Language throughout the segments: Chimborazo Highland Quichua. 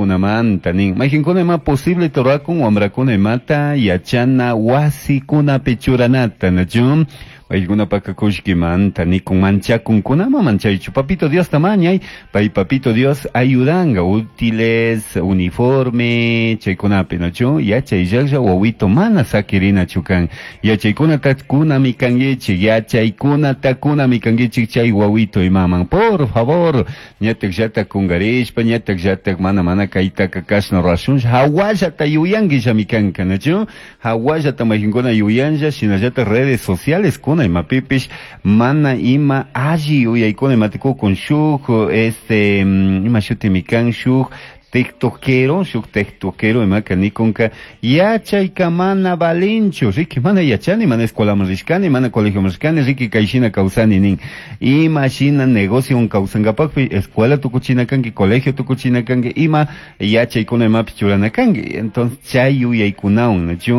Kullkikunamanta nin. Mayqinkuna ima posible rurakun wamrakuna imata yachana wasikunapi churanata, nachu? Paykunapaka kullkimanta nikun manchakunkunama manchaychu. Papito Diosta mañay, pay Papito Dios ayudanga útiles, uniforme, chaykunapi, nachu? Yachay llaqlla wawito mana sakirinachu kan. Yachaykunata kunami kankichik, yachaykunata kunami kankichik chay wawito imaman. Por favor, ñatak llatak kungarishpa, ñatak llatak mana mana kaytaka kashna rurashunlla, hawallata yuyanquillami kanka, nachu? Hawallata mayqinkuna yuyanlla, shinallata redes sociales kuna imapipish mana ima alli yuyaykuna imatikukun shuk este ima shutimi kan shuk tiktokero, shuk tiktokero imaka nikunka yachayka mana valinchu, riki mana yachani, mana escuelaman rishkani, mana colegioman rishkani, riki kayshina kawsani nin. Ima shina negocio kawsankapakpi escuela tukuchina kanki, colegio tukuchina kanki, ima yachaykuna imapi churana kanki. Entonces chay yuyaykunawan, nachu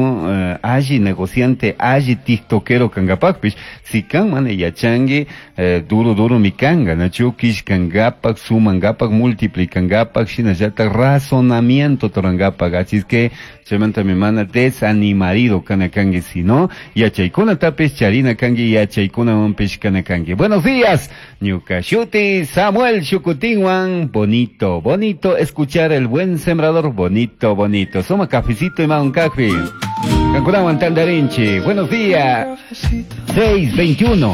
alli negociante, alli tiktokero kankapakpish, si kan mana yachanki, duro duro mi kanka, nachu kishkankapak, sumankapak, multiplicankapak, shinallata razonamiento rurankapak, así es que chaymanta mi mana desanimarido kana kanki, sino yachaykunatapis charina kanki, yachaykunawanpish kana kanki. Buenos días, ñuka shuti Samuel Shukutinwan, bonito, bonito escuchar el buen sembrador, bonito, bonito. Suma cafecito y un café. Kankunawan tandarinchi. Buenos días. 6:21.